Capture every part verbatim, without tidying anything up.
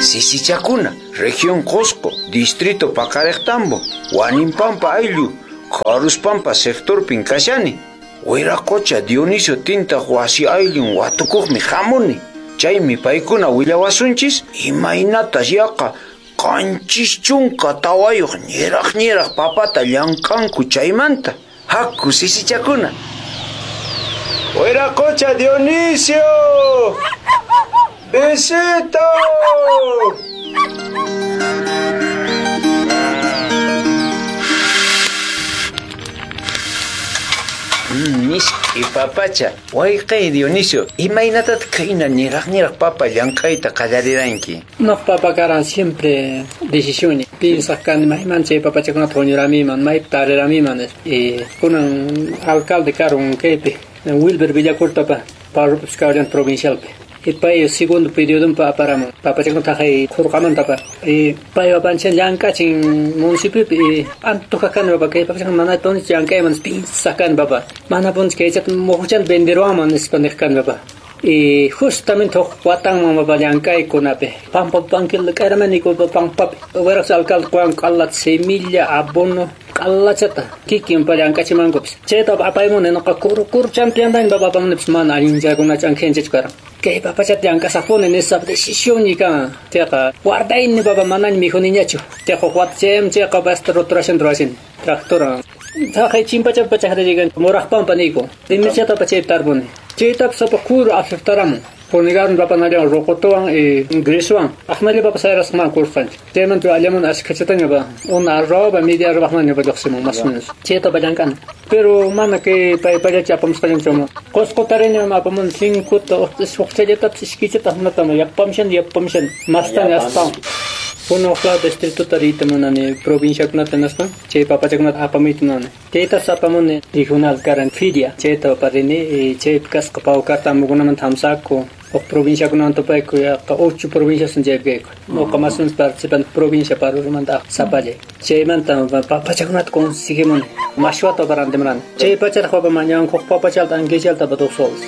Sisichakuna, región Qosqo, distrito Paqariqtambo, Waninpampa ayllu, Kharuspampa sectorpin kashani. Wiraqocha Dionisio Tintaq wasi ayllun watukuqmi hamuni. Chaymi paykuna willawasunchis imaynatas yaqa qanchis chunka tawayuq ñiraq ñiraq papata llank'anku chaymanta. Haku sisichakuna. Wiraqocha Dionisio! ¡Besito! Miski papacha, wayqay Dionisio, imaynatataq khayna niraq niraq papa llank'ayta qallariranki? No, papa karan siempre decisiones. Piensas kan mayman chay papachakunata huñuramiman, maypi tariramiman. Y kunan alcalde karun kaypi, Wilber Villacortapa, parrupis kawrian provincialpi. Y pay segundo periodo pa aparamun. Papachakunata hay qurqamantapa. Y pay papanchan llank'achin municipiopi y antuqa kani papa kay papachakuna mana punch llank'ayman pinsaq kani papa. Mana punch kaychata muhuchanta venderuwanman nispa niq kani papa. Y justamente huk watanman papa llank'aykunapi. Pampa pankilla k'ayramani pampapi. Wiraqcha alcalde quwan q'allata semilla, abono, q'allachata kikin pa llank'achimankupis. Chayta apaymuni nuqa kuru kuruchanpi yantani papa apamunipis mana allinchakunachu ankhinchachu karan. Kay papachata llank'asaqpuni nispa decisión kan. Chayqa guardayni papa manaña mikhuniñachu. Chayqa huk wata chaymi chayqa basta roturashan ruwashin. Tractora. Taqay chimpachapi pachaqta llegan muraqpampa niyku. Rimishata pa chaypi tarpuni. Chaytapas sapa kuru afectaramun. Fumigaron papa nallan roqotuwan y griswan. Aqnalla papa sayrasqman kurqanchik. Chaymanta allaman ashkhachataña pa una arroba media arroba pa lluqsimun más o menos. Chayta pa llank'ana. Pero mana kay paypallachi apamusqallanchuma. Qusqu tarini apamun cincuta huqchallatapis iskaychata hinatama yapamshan yapamshan mastaña astawan. Kunan huk lado distrituta riyta munani provinciakunata nispa chay papachakunata apamuyta munani. Chaytas apamuni regional karan feria chayta parini chaypi kasqa pawkarta amukunamanta hamsaku huk provinciakunawan tupayku yaqa ocho provincias chaypi kayku. Nuqa más o menos participante provincia Parurumanta sapallay. Chaymanta papachakunata conseguimuni mashwata parantimurani. Chay pachataq papa mañanku huk papachalta ankichalta dos soles.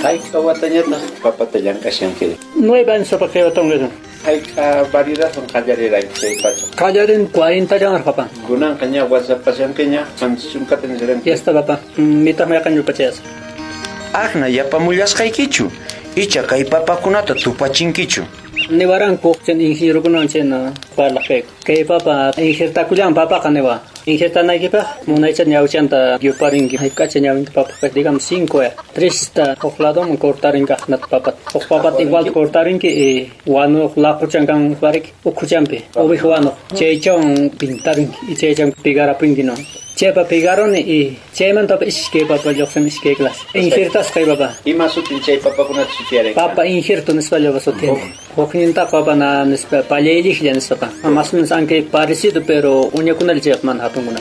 Hayk'a watañataq papata llank'ashanki? Nueve años papa kay watanqa. Hayk'a variedadwan qallariranki chay pacha? Qallarin cuarenta llank'ar papa. Kunanqa ña wasapashankiña qanchis chunkata nisranki. Ya está papa. Mitaq mayqanñu pachayas. Aqna yapamullasqaykichu? Icha kay papakunata tupachinkichu? Niwaranku chay ingenierokunawan chayna parlaq kayku. Kay papa injertakullan papaqa niwa. Injertanaykipaq munaycha ñawchanta yuparinki. Hayk'acha ñawinki papaqa digamos cinco tresta huk ladoman cortarinki aqnata papata. Huk papata igual cortarinki y wanuq laquchan kan pariki ukhuchanpi oveja wanuq chaychawan pintarinki y chaychan pegarapinki no. Chaypa pegaroni y chaymanta iskay papa lluqsin iskay clase. Injertasqay papa. Ima sutin chay papakunata sutiyaranki? Papa injerto nispa llapa sutiyani. Huknintaqa papa na nispa pallayliqlla nispa. Más o menos aunque parecido pero uñakunalla chayqa mana hatunkuna.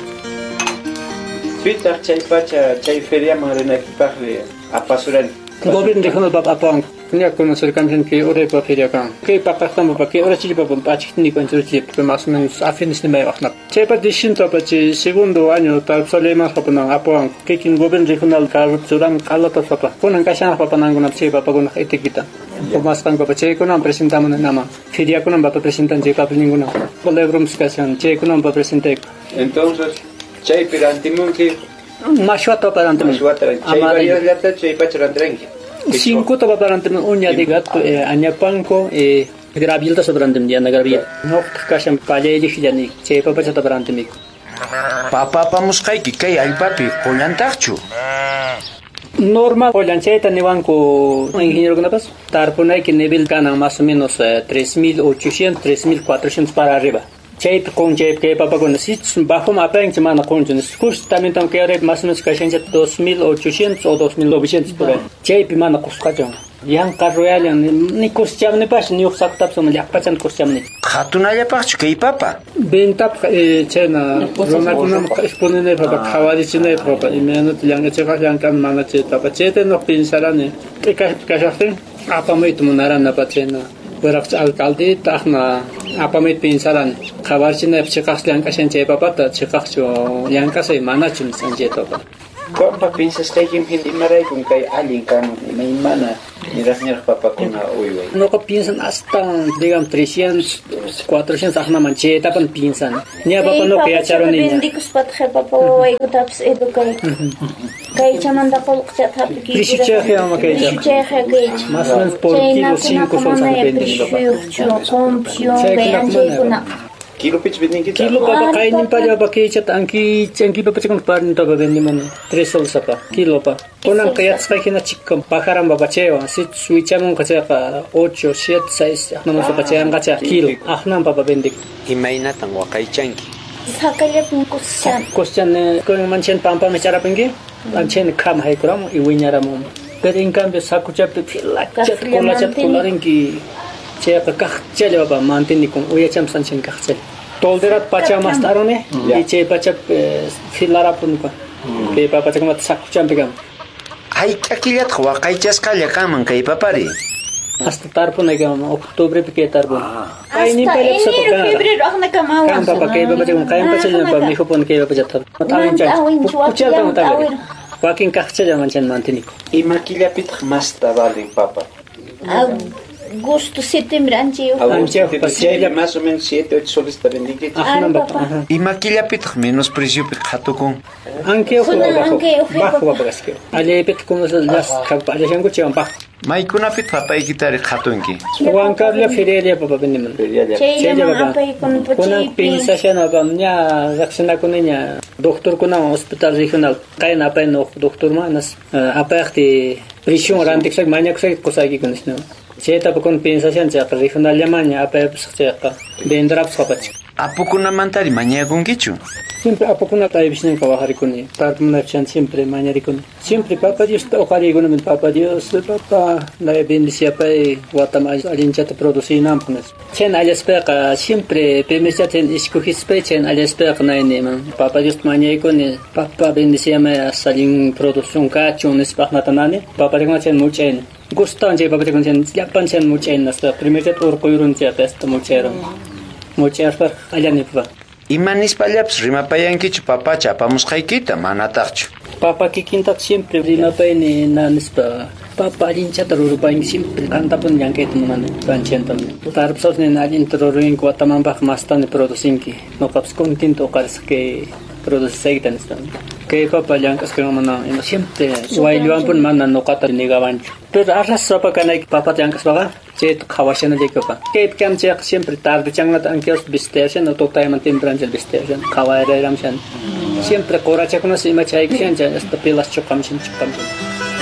Pitaq chay pacha chay feriaman rinaykipaqri apasurani? Gobierno regional papa apawanku. Ña conocer que ora feria kan. Kay paqaqtan papa kay ora chili papa pachikni conchurchi más o menos a fines de mayo aqnap. Chaypa distinto papa chay segundo año tarpsalema papanan apawanku. Kikin gobierno regional karupchuran q'allata papa. Kunan kashanaq papanankunap chay papakunaq etiqueta. Umasqan papa chaykunan presentamun nama. Feriakunan papa presentan chay papelninkuna. Colebrums kashan chaykunan papa presentayku. Entonces chaypi rantimunki mashwata papa rantimun. Mashwata chay variedadllata chay pacha rantiranki. Cinco papa rantimun uña de gato añapanco eh gravilta sobrantim yana gravil. Noqtaq kashan pallayliqllani chay papachata rantimik. Papa apamusqayki kay allpapi qullantaqchu? Normal qullan chayta niwanku ingenierokunapas tarpunayki nivel kanan más o menos tres mil ochocientos, tres mil cuatrocientos para arriba. Chaypi qun chaypi kay papakuna sichus bajoman apanki mana qunchu justamente kay arriba más o menos kashancha dos mil ochocientos o dos mil novecientos por ahí. Chaypi mana qusqachun. Yanqa royallan ni cosechamnipash ni huk saqtapis llaqpachanta cosechamni. Qhatunallapaqchu kay papa? Ventapaq chayna runakunaman exponenaypaq papa qhawarichinaypaq papa imaynata llank'achiqaq llank'an mana chayta papa chayta nuq pinsarani t'ikashpi kashaqtin apamuyta munarani papa chayna wiraqcha alcaldeta aqna apamuyta pinsarani qhawarichinaypaq chiqaqchu llank'ashan chay papata chiqaqchu llank'asay manachu nisqan chayta papa. Qampa pinsasqaykim hina imaraykun kay allin kanman imaymana Niraq niraq papakuna uyway. Nuqa piensan hasta, digamos, trescientos, cuatrocientos aqnaman chaytapan piensan. Ña papa nuqa yacharuni. Vendikuspataq papa wawaykutapis educayku. Kaychamanta qullqichata hap'ikuyku. Prishuchayqa ama kaycha. Prishuchayqa kaycha. Más o menos por kilo cinco soles venden papa. Chaykuna. Kilopich vendinkichik? Kilo papa qayninpalla papa kaychata anki anki papachakuna parnintapa vendimani. Tres soles apa kilo pa. Kunanqa yachasqayhina chikkan pajaran papa chaywan sichus wichamunqa chayqa ocho, siete, seis aqnaman papa chayanqacha kilo aqnan papa vendik. Imaynatan waqaychanki? Sakallapim kusichan. Kusichan kunan manchan pampami charapinki anchan kham haykuramun y wiñaramun. Pero en cambio sakuchapi philachata kulachata kularinki chayqa kaqchalla papa mantenikun uyachampas anchan kaqchalla. Tolderat pacha mastaruni y chay pacha filarapun kay papachakunata sakuchampi kan. Hayk'a killataq waqaychasqalla kanman kay papari? Hasta tarpunaykaman octubrepi kay tarpun. Hasta enero, febrero aqnakama Kan papa kay papachakuna qayan pachallapa mikhupun kay papachata. Awincha. Wakin kaqchalla manchan mantenikun. Ima killapitaq masta valen papa? Agosto, septiembre, anchayuq. Agosto, chaylla más o menos siete, ocho soles ta vendinkichik. Aqnan Ima killapitaq menos preciopi qhatukun? Ankayuq bajo. Bajo papa kasqa. Allaypitaq como las allashanku chaywan bajo. Maykunapitaq papaykitari qhatunki? Huancarla ferialla papa vendiman. Chayllaman apaykuna Kunan piensashana papa ña riqsinakuniña doctorkunawan hospital regional qayna apayna huk doctorman nas apayqti presión rantikusaq mañakusaq qusaykiku nispa. Chayta kun piensashan chayqa regionallamanña apayapusaq chayqa venderapusaq apachik. Apukunamantari mañakunkichu? Siempre apukunata aypisninqa wajarikuni. Tarpunapchan siempre mañarikuni. Siempre papa Dios uqariykunami papa Dios papa la bendiciapay watam allinchata producinanpaq nispa. Chayna allaspaqa siempre permischata iskujispay chayna allaspaqa nayniman papa Dios mañaykuni papa bendiciamay allin producción kachun nispa aqnatanani papa Dios chayna muchayni. Gustan chay papa Dios chayna llapan chayna muchayni nispa primerchata urquyrun chayqa hasta muchayrun. Muchayaspa allani papa. Ima nispallapas rimapayankichu papacha apamusqaykita manataqchu? Papa kikintaq siempre rimapayni na nispa papa allinchata rurupayki siempre qantapuni llank'ayta munani panchantam. Tarpusasnin allinta ruruyinku watamanpaq mastani producinki. Nuqapas contento uqarisaq kay producisqaykita nispa. Kay papa llank'asqan mana ima siempre waylluwanpuni mana nuqata negawanchu. Pero arraspa kanayki papata llank'aspaqa chayta qhawashanallayki papa. Kaypi kam chayqa siempre tardechankunata ankiwas visteyashan tutayman tempranchal visteyashan qhawayrayramshan. Siempre qurachakunas ima chaykushan chay hasta pilas chuqamshan chuqamshan.